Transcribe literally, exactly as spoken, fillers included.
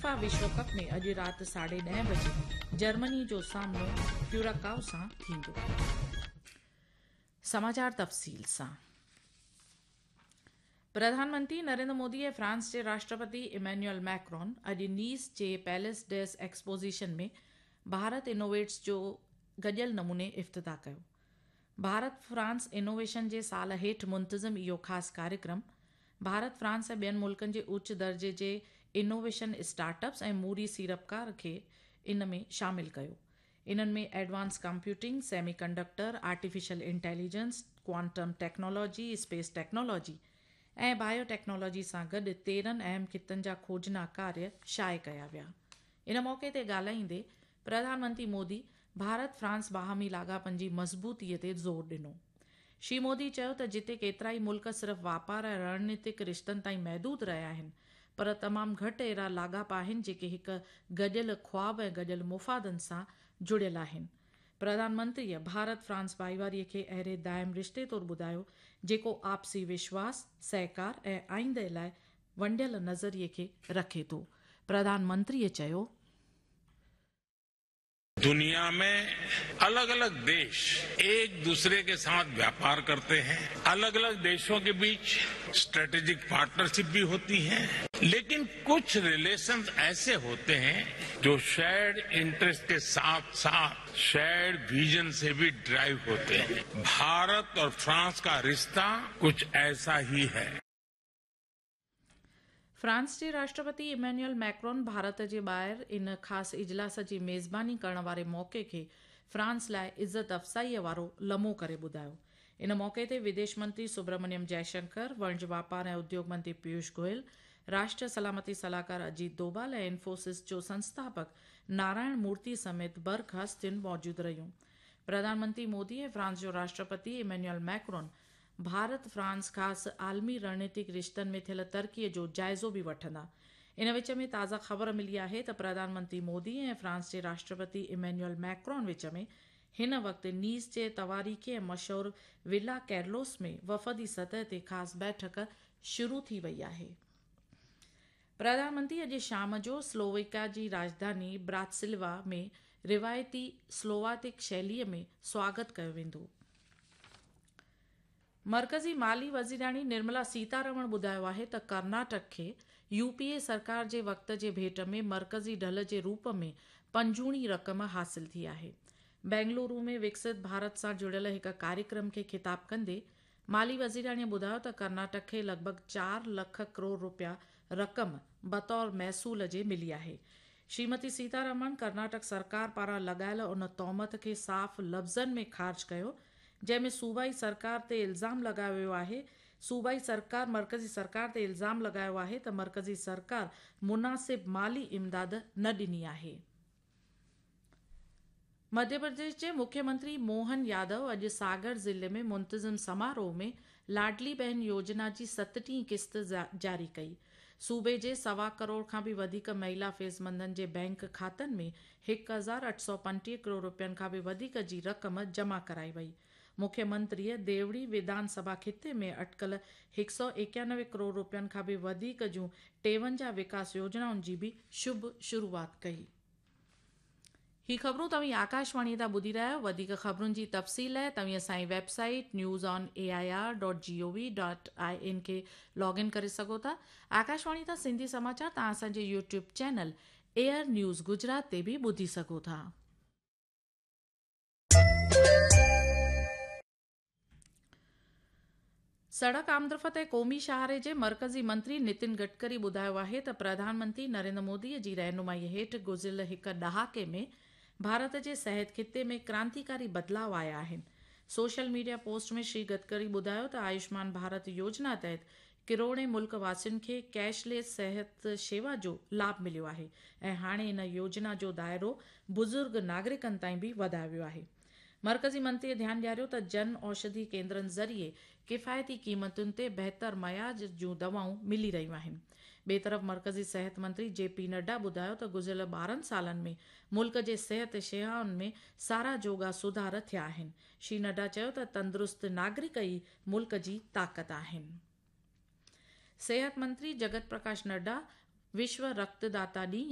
FIFA وشو ڪپ ۾ اڄ رات ساڍي ڏهه بجي جرمني جو سامنو ڪيوراڪائو سان ٿيندو. سماچار تفصيل سان. پرڌان منتري نريندر مودي ۽ فرانس جي راشٽرپتي ايمينوئل ميڪرون اڄ نيس جي پيلس ڊيس ايڪسپوزيشن ۾ ڀارت انوويٽس جو گڏيل نموني افتتاح ڪيو. ڀارت فرانس انوويشن جي سال هيٺ منتظم اهو خاص ڪاريڪرم ڀارت، فرانس ۽ ٻين ملڪن جي اچ درجي جي انوويشن اسٽارٽ اپس ۽ موري سيڙپڪار کي ان ۾ شامل ڪيو. انهن ۾ advance computing, semiconductor, artificial intelligence, quantum technology, space technology ۽ bio technology سان گڏ تيرهن اهم خطن جا کوجنا ڪاريه شايع ڪيا ويا. ان موقعي تي ڳالهائيندي پرڌان منتري مودي ڀارت فرانس باهمي لاڳاپن جي مضبوطيءَ تي زور ڏنو. شري مودي چيو ته جتي ڪيترائي ملڪ صرف واپار ۽ رڻنيتڪ رشتن تائين محدود رهيا آهن، پر تمام گهٽ اهڙا لاڳاپا آهن جيڪي هڪ گڏيل خواب ۽ گڏيل مفادن سان جڙيل آهن. پرڌان منتريءَ ڀارت فرانس ڀائيواريءَ کي اهڙي دائم رشتي طور ٻڌايو جيڪو آپسي وشواس، سهڪار ۽ آئينده لاءِ ونڊيل نظريي کي رکي ٿو. پرڌان منتريءَ چيو، दुनिया में अलग अलग देश एक दूसरे के साथ व्यापार करते हैं, अलग अलग देशों के बीच स्ट्रेटेजिक पार्टनरशिप भी होती है, लेकिन कुछ रिलेशंस ऐसे होते हैं जो शेयर्ड इंटरेस्ट के साथ साथ शेयर्ड विजन से भी ड्राइव होते हैं। भारत और फ्रांस का रिश्ता कुछ ऐसा ही है। फ्रांस जे राष्ट्रपति इमैनुअल मैक्रोन भारत जे ॿाहिरि इन ख़ासि इजलास जी मेज़बानी करण वारे मौक़े खे फ्रांस लाइ इज़त अफ़ज़ाईअ वारो लम्हो करे ॿुधायो। इन मौक़े ते विदेश मंत्री सुब्रमण्यम जयशंकर, वणज वापार ऐं उद्योग मंत्री पीयूष गोयल, राष्ट्रीय सलामती सलाहकार अजीत डोभाल ऐं इन्फोसिस जो संस्थापक नारायण मूर्ति समेत बर्ख हस्तियुनि मौजूदु रहियूं। प्रधानमंत्री मोदी ऐं फ्रांस जो राष्ट्रपति इमैनुअल मैक्रोन भारत फ्रांस ख़ासि आलमी रणनीतिक रिश्तनि में थियल तरक़ीअ जो जाइज़ो बि वठंदा। इन विच में ताज़ा ख़बर मिली आहे त प्रधानमंत्री मोदी ऐं फ्रांस जे राष्ट्रपति इमैनुअल मैक्रोन विच में हिन वक़्तु नीस जे तवारीख़ी ऐं मशहूर विला कैरलोस में वफ़दी सतह ते ख़ासि बैठक शुरू थी वई आहे। प्रधानमंत्री अॼु शाम जो स्लोवाकिया जी राजधानी ब्रातिस्लावा में रिवायती स्लोवातिक शैलीअ में स्वागत कयो वेंदो। मर्कज़ी माली वज़ीराणी निर्मला सीतारमण ॿुधायो आहे त कर्नाटक खे यूपीए सरकार जे वक़्त जे भेंट में मर्कज़ी ढल जे रूप में पंजूणी रक़म हासिल थी आहे। बेंगलुरु में विकसित भारत सां जुड़ियल हिकु कार्यक्रम खे ख़िताब कंदे माली वज़ीराणीअ ॿुधायो त कर्नाटक खे लॻभॻि चार लख करोड़ रुपया रक़म बतौर महसूल जे मिली आहे। श्रीमती सीतारमण कर्नाटक सरकार पारां लॻायल उन तोहमत खे साफ़ लफ़्ज़नि में ख़ारिज कयो जंहिंमें सूबाई सरकार ते इल्ज़ाम लॻायो वियो आहे। सूबाई सरकार मर्कज़ी सरकार ते इल्ज़ाम लॻायो आहे त मर्कज़ी सरकार मुनासिब माली इमदाद न ॾिनी आहे। मध्य प्रदेश जे मुख्यमंत्री मोहन यादव अॼु सागर ज़िले में मुंतज़िम समारोह में लाडली बहन योजना जी सतटीह क़िस्त जारी कई। सूबे जे सवा करोड़ खां बि वधीक महिला फ़ैज़मंदनि जे बैंक खातनि में हिकु हज़ार अठ सौ पंटीह करोड़ रुपयनि खां बि वधीक जी रक़म जमा कराई वई। मुख्यमंत्रीअ देवड़ी विधानसभा ख़िते में अटकल हिकु सौ एकानवे करोड़ रुपयनि खां बि वधीक जूं टेवंजाह विकास योजनाउनि जी बि शुभ शुरुआत कई। ही ख़बरूं तव्हीं आकाशवाणी तां ॿुधी रहिया आहियो। वधीक ख़बरुनि जी तफ़सील लाइ तव्हीं असांजी website news on A I R dot G O V dot I N खे लॉग इन करे सघो था। आकाशवाणी तां सिंधी समाचार तव्हां असांजे YouTube channel air news Gujarat ते बि ॿुधी सघो था। सड़क आमदरफ़्त ऐं क़ौमी शाहरे जे मर्कज़ी मंत्री नितिन गडकरी ॿुधायो आहे त प्रधानमंत्री नरेंद्र मोदीअ जी रहनुमाईअ हेठि गुज़िरियल हिकु ॾहाके में भारत जे सिहत ख़िते में क्रांतिकारी बदिलाव आया आहिनि। सोशल मीडिया पोस्ट में श्री गडकरी ॿुधायो त आयुष्मान भारत योजना तहत किरोड़े मुल्क वासियुनि खे कैशलेस सिहत शेवा जो लाभ मिलियो आहे ऐं हाणे इन योजना जो दायरो बुज़ुर्ग नागरिकनि ताईं बि वधायो वियो आहे। मर्कज़ी मंत्रीअ ध्यानु ॾियारियो त जन औषधि केंद्रनि ज़रिए किफ़ायती क़ीमतुनि ते बहितर मयाज जूं दवाऊं मिली रहियूं आहिनि। ॿिए तरफ़ मर्कज़ी सिहत मंत्री जे पी नड्डा ॿुधायो त गुज़िरियल ॿारहं सालनि में मुल्क जे सिहत शेवाउनि में सारा जोगा सुधार थिया आहिनि। श्री नड्डा चयो त तंदुरुस्त नागरिक ई मुल्क जी ताक़त आहिनि। सिहत मंत्री जगत प्रकाश नड्डा विश्व रक्तदाता ॾींहुं